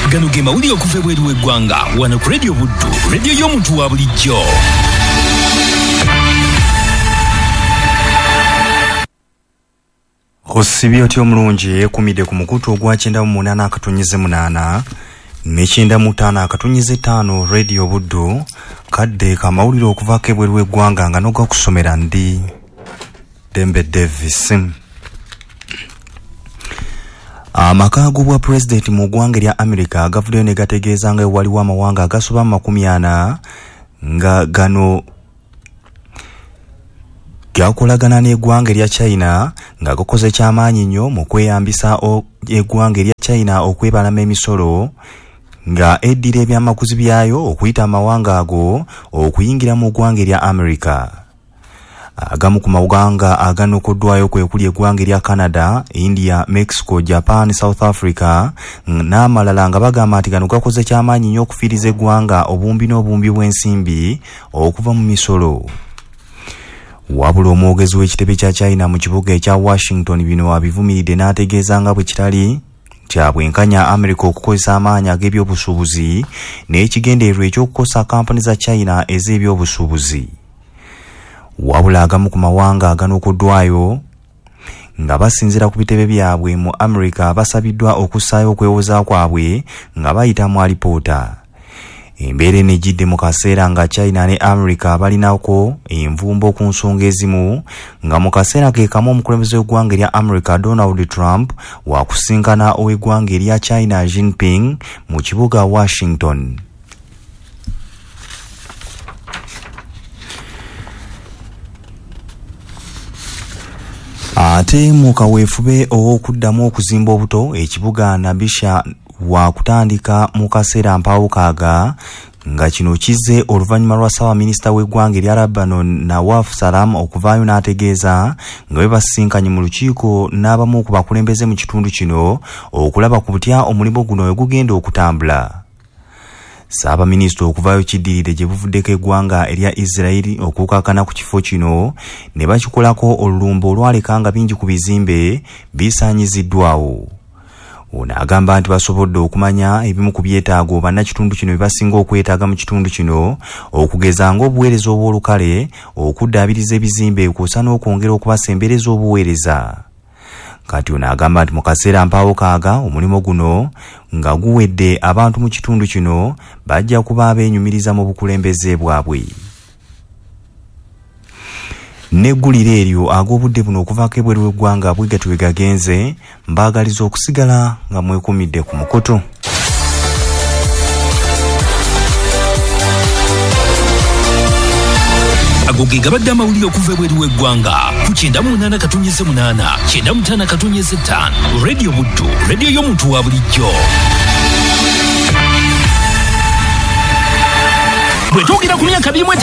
Gano ge mawulire okuva ebweru w'eggwanga wano ku Radio Buddu, radio y'omuntu wa bulijjo. Osibye otya omulungi yeekumidde ku mukutu ogwa 98.8 ne 95.5 Radio Buddu, kadde kamawulire okuvaako ebweru w'eggwanga nga n'ogakusomera ndi Dembe Davis. Amaka g'obwa pulezidenti mu ggwanga erya America gavuddeyo ne gategeeza nga waliwo amawanga agasoba mu 40 nga gano gakolagana n'eggwanga erya China nga gakoze kyamaanyi nnyo mu kweyambisa eggwanga erya China okwebalama emisolo nga eddira ebyamaguzi byayo okuyita amawanga ago okuyingira mu ggwanga erya America. Agamu ku mawanga aganokoddwayo kwe kuli eggwanga erya Canada, India, Mexico, Japan, South Africa n'amalala nga bagamba nti gano gakoze kyamaanyi nnyo okufiiriza eggwanga obumbi n'obumbi bw'ensimbi okuva mu misolo. Wabula omwogezi w'ekitebe kya China mu kibuga ekya Washington bino abivumiridde n'ategeeza nga bwe kitali kya bwenkanya America okukozesa amaanyi ag'ebyobusuubuzi n'ekigendererwa eky'okukosa kampuni za China ez'ebyobusuubuzi. Wabula agamu ku mawanga aganokoddwayo nga basinziira ku bitebe byabwe mu America basabiddwa okussaayo okwewoza kwabwe nga bayita mu alipoota. Embeera eno ejjidde mu kaseera nga China ne America balinako envumbo ku nsonga ezimu, nga mu kaseera ke kamu omukulembeze w'eggwanga erya America Donald Trump wakusinkana ow'eggwanga erya China Jinping mu kibuga Washington. Ate mu kaweefube ow'okuddamu okuzimba obuto ekibuga Nabisha wakutandika mu kaseera mpaawukaaga, nga kino kizze oluvannyuma lwa ssaabaminisita w'eggwanga erya Lebanon Nawaf Salam okuvaayo n'ategeeza nga bwe basisinkanye mu lukiiko n'abamu ku bakulembeze mu kitundu kino okulaba ku butya omulimu guno we gugenda okutambula. Ssaabaminisita okuvaayo kiddiridde gye buvuddeko eggwanga erya Israel okukakkana ku kifo kino ne bakikolako olulumba olwaleka nga bingi ku bizimbe bisaanyiziddwawo. Ono agamba nti basobodde okumanya ebimu ku byetaago bannakitundu kino bye basinga okwetaaga mu kitundu kino, okugeza ng'obuweereza obw'olukale, okuddaabiriza ebizimbe kw'ossa n'okwongera okubasembereza obuweereza. Kati ono agamba nti mu kaseera mpaawo kaaga omulimu guno nga guwedde abantu mu kitundu kino bajja kuba abeenyumiriza mu bukulembeze bwabwe. N'eggulire eryo ag'obudde buno okuvaako ebweru w'eggwanga bwe gatyo bwe gagenze, mbaagaliza okusigala nga mwekumidde ku mukutu. Ago ge gabadde amawulire okuva ebweru w'eggwanga ku 98.8 95.5 Radio Buddu, radio y'omuntu wa bulijjo. Bwe twogera ku myaka 25.